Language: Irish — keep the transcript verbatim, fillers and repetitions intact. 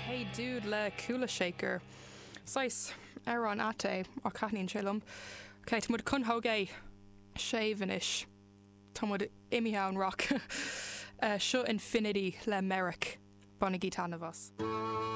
Hey Dude le Kula Shaker. Saghas amhrán ait é ach taitníonn sé liom. Ok, Tá muid chun bogadh séimh anois. Tá muid imithe ón rock. Uh, seo Infinity le Merrick. Bainigí taitneamh as.